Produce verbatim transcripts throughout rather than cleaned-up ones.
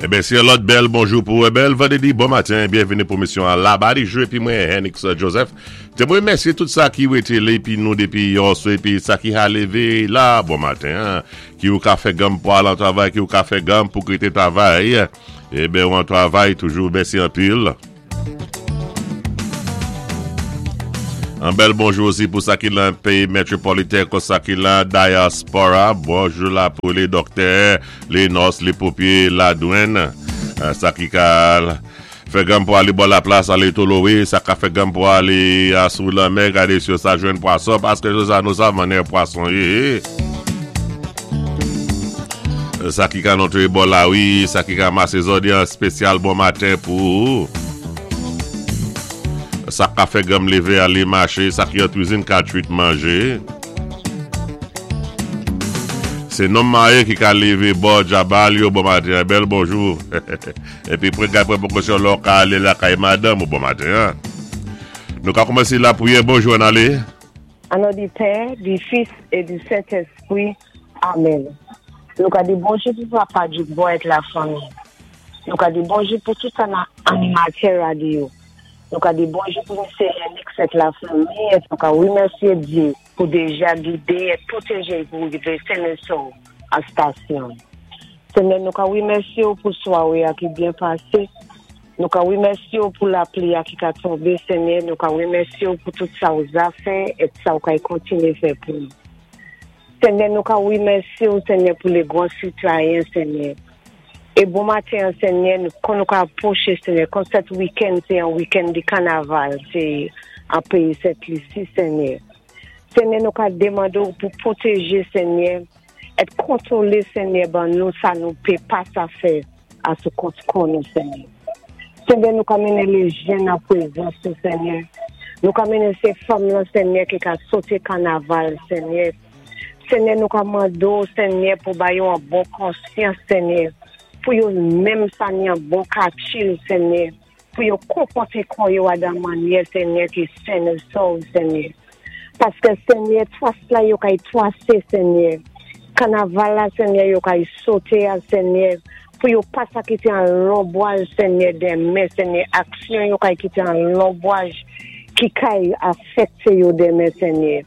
Enben, sé lòt bèl bonjou pou bèl vandédi, bon maten, byenvini pou émisyon an Labadi Jou épi mwen Henix Joseph. Té mwen mèsyé tout sa ki wété la épi nou dépi yèswa épi sa ki ka lévé la bon maten, en, ki ou ka fè ganm pou al an travay, ki ou ka fè ganm pou kité travay. Enben, ou an travay toujou, mèsi anpil. Yon bèl bonjou osi pou sa ki lan péyi métwopoliten, kon sa ki lan dyaspora. Bonjou la pou lé doktè, lé nòs, lé ponpyé, ladwann. Euh, sa ki ka fè ganm pou alé bò la plas, alé Tolowé, sa ka fè ganm pou alé a sou lanmè, gadé si sa jwenn pwason, paské sa nou sav mannyè pwason yé. Sa ki ka antré bò lari, sa ki ka masé zòdi yon spésyal bon maten pou sa ka fè ganm lévé alé maché, sa ki an kwizin ka kwit manjé. Sé nonm maryé ki ka lévé bò djabal yo, bon maten, bèl bonjou. Épi pran pran pwékosyon lò ka alé lakay madanm ou bon maten. En. Nou ka koumansé lapriyè, bonjou ann alé. An non di Pè, di Fis é di Sentespwi. Amen. Nou ka di bonjou pou papa di bon ak lafanmi. Nou ka di bonjou pou tout animatè radyo. Nou ka di bonjou pou Mesye Yannick ak lafanmi é nou ka wimèsyé Dye pou déja gidé é pwotèjé pou rivé sen é sov a stasyon. Senyè, nou ka wimèsyé ou pou swaré a ki byen pasé. Nou ka wimèsyé ou pou lapli a ki ka tonbé, Senyè. Nou ka wimèsyé ou pou tout sa ou za fè é sa ou ka kontiné fè pou nou. Senyè, nou ka wimèsyé ou, Senyè, pou lé gwan sitwayen, Senyè. É bon maten, Senyè, nou, kon nou ka apwoché, Senyè, kon sèt wikenn, sé yon wikenn di kanaval, sé an péyi Sent Lisi, Senyè. Senyè, nou ka demandé ou pou pwotèjé, Senyè, é kontwolé, Senyè, ban nou sa nou pé pa sa fè a sou kont kon nou, Senyè. Senyè, nou ka mennen lé jèn an pwézans, Senyè. Nou ka mennen sé fanm la, Senyè, ki ka soté kanaval, Senyè. Senyè, nou ka mandé ou, Senyè, pou ba yo yon bon konsyans, Senyè. Pou yo menm sa ni yon bon katchil, Senyè. Pou yo konpòté kò yo a dan mannyè, Senyè, ki sen é sov, Senyè. Paské Senyè, twas la yo kay twasé, Senyè. Kanaval la, Senyè, yo kay soté a, Senyè. Pou yo pa sa kité an lonbwaj, Senyè, denmen, Senyè. Aksyon yo kay kité an lonbwaj ki kay afèkté yo denmen, Senyè.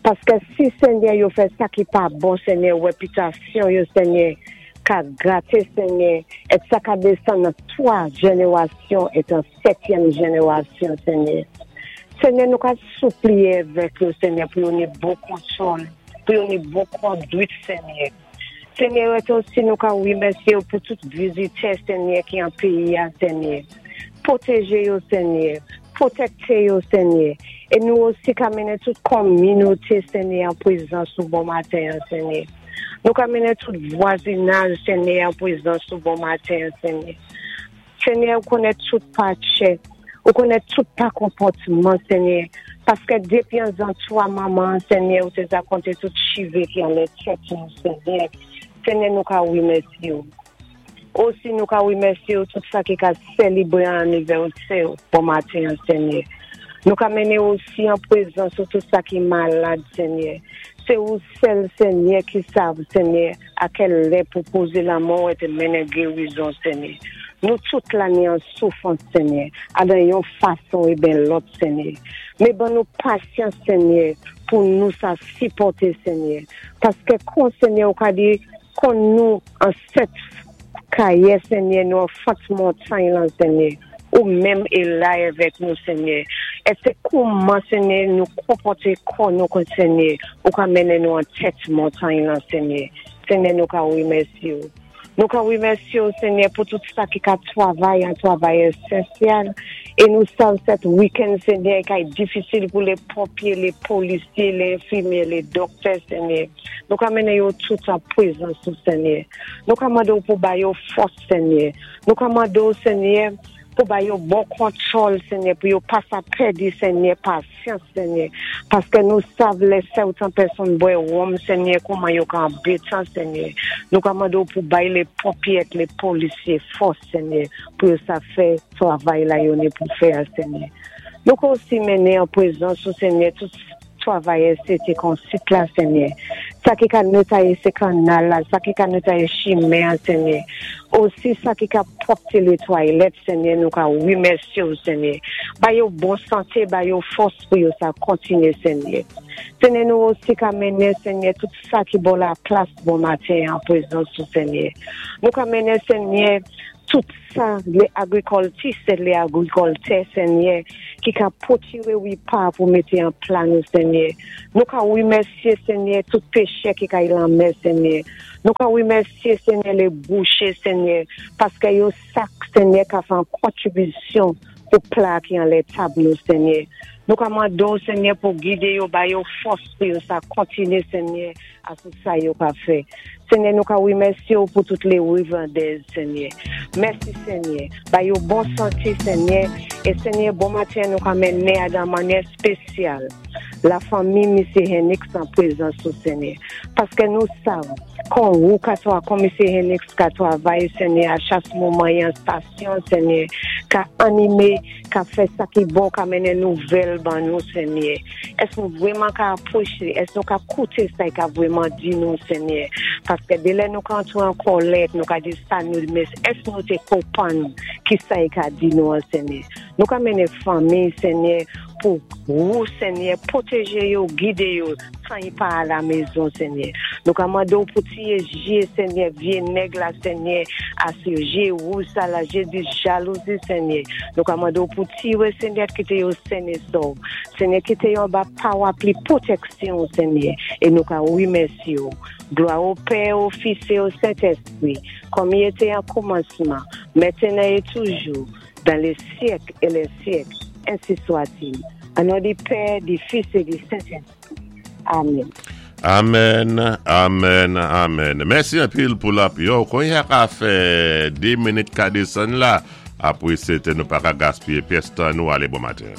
Paské si, Senyè, yo fè sa ki pa bon, Senyè, wépitasyon yo, Senyè, ka gaté, Senyè, é sa ka désann nan twa jénéwasyon é an sètyèm jénéwasyon, Senyè. Senyè, nou ka sipliyé avèk yo, Senyè, pou yo ni bon kontwòl, pou yo ni bon kondwit, Senyè. Senyè, osi nou ka wimèsyé ou pou tout vizitè, Senyè, ki an péyi a, Senyè. Pwotèjé yo, Senyè. Pwotèkté yo, Senyè. É nou osi ka mennen tout kominoté, Senyè, an pwézans ou bon maten, Senyè. Nou ka mennen tout vwazinaj, Senyè, an pwézans ou bon maten, Senyè. Senyè, ou konnen tout pachay, ou konnen tout pa konpòtman, Senyè. Paské dépi an zantwa manman, Senyè, ou té za konté tout chivé ki anlè tèt nou, Senyè. Senyè, nou ka wimèsyé ou. Osi nou ka wimèsyé ou tout sa ki ka sélébré an anivèsè bon maten, Senyè. Nou ka mennen osi an pwézans ou tout sa ki malad, Senyè. Sé ou sèl, Senyè, ki sav, Senyè, a kèl lè pou pozé lamen é té mennen gérizon, Senyè. Nou tout la ni an soufrans, Senyè, a dan yon fason é ben lòt, Senyè. Mé ban nou pasyans, Senyè, pou nou sa sipòté, Senyè. Paské kon, Senyè, ou ka di, kon nou an sèt kayé, Senyè, nou an fant montay lan, Senyè, ou menm é la avèk nou, Senyè. É sé kouman, Senyè, nou konpòté kò nou kon Senyè, ou ka mennen nou an tèt montay lan, Senyè. Senyè, nou ka wimèsyé ou. Nou ka wimèsyé ou, Senyè, pou tout sa ki ka travay, an travay ésansyèl. É nou sav sèt wikenn, Senyè, kay difisil pou lé ponpyé, lé polisyé, lé enfimyé, lé doktè, Senyè. Nou ka mennen yo tout an pwézans ou, Senyè. Nou ka mandé ou pou ba yo fòs, Senyè. Nou ka mandé ou, Senyè, pou ba yo bon kontwòl, Senyè, pou yo pa sa pèdi, Senyè, pasyans, Senyè. Paské nou sav lè sèten pèsonn bwè wonm, Senyè, kouman yo ka anbétan, Senyè. Nou ka mandé ou pou bay lé ponpyé ak lé polisyé fòs, Senyè, pou yo sa fè travay la yo ni pou fè a, Senyè. Nou ka osi mennen an pwézans ou, Senyè, tout travayè sé té kon sit la, Senyè. Sa ki ka netwayé sé kanal la, sa ki ka netwayé chimen, Senyè. Osi sa ki ka pwòpté lé twalèt, Senyè, nou ka wimèsyé ou, Senyè. Ba yo bon santé, ba yo fòs pou yo sa kontinyé, Senyè. Senyè, nou osi ka mennen, Senyè, tout sa ki bò la plas bon maten an pwézans ou, Senyè. Nou ka mennen, Senyè, tout sa, lé agwikiltis é lé agwikiltè, Senyè, ki ka pwotiré wépa pou mété an pla nou, Senyè. Nou ka wimèsyé, Senyè, tout péchè ki ka lanmè, Senyè. Nou ka wimèsyé, Senyè, lé bouché, Senyè, paské yo sak, Senyè, ka fè an kontribisyon pou pla ki anlè tab nou, Senyè. Nou ka mandé ou, Senyè, pou gidé yo, ba yo fòs pou yo sa kontinyé, Senyè, a sou sa yo ka fè. Senyè, nou ka wimèsyé ou pou tout lé wivandèz, Senyè. Mèsi, Senyè. Ba yo bon santé, Senyè. É Senyè, bon maten, nou ka mennen dan mannyè spésyal la fanmi Misyé Henix an pwézans ou, Senyè. Paské nou sav, kon ou ka twa, kon Misyé Henix ka twavay, Senyè, a chak moman yon stasyon, Senyè, ka animé, ka fè sa ki bon, ka mennen nouvèl ban nou, Senyè. Ès nou vwéman ka apwoché, ès nou ka kouté sa ka vwéman di nou, Senyè. Paské dé lè nou ka antwé an kòlèt, nou ka di sa nou, mé ès nou té konpwann ki sa i ka di nou an, Senyè. Nou ka mennen fanmi, Senyè, pou ou, Senyè, pwotéjé yo, gidé yo, san i pa a la mézon, Senyè. Nou ka mandé ou pou tiyé jé, Senyè, vyé nèg la, Senyè, asou jé wouj sa la, jé di jalouzi, Senyè. Nou ka mandé ou pou tiyé, Senyè, kité yo sen é sòv. Senyè, kité yo anba parapli pwótéksyon, Senyè. É nou ka wimèsyé ou. Glwa o Pè, o Fis é o Sentèspwi, kòm i été an kòmansman, mentenan é toujou, dan lé syèk é lé syèk, ensi swa-t-il. An non di Pè, di Fis é di Sentèspwi. Amen. Amen, amen, amen. Mèsi anpil pou la yo. Kon ya ka fè dé minit ka désann la, apwé sé nou pa ka gaspiyé pyès tan nou. Alé, bon maten.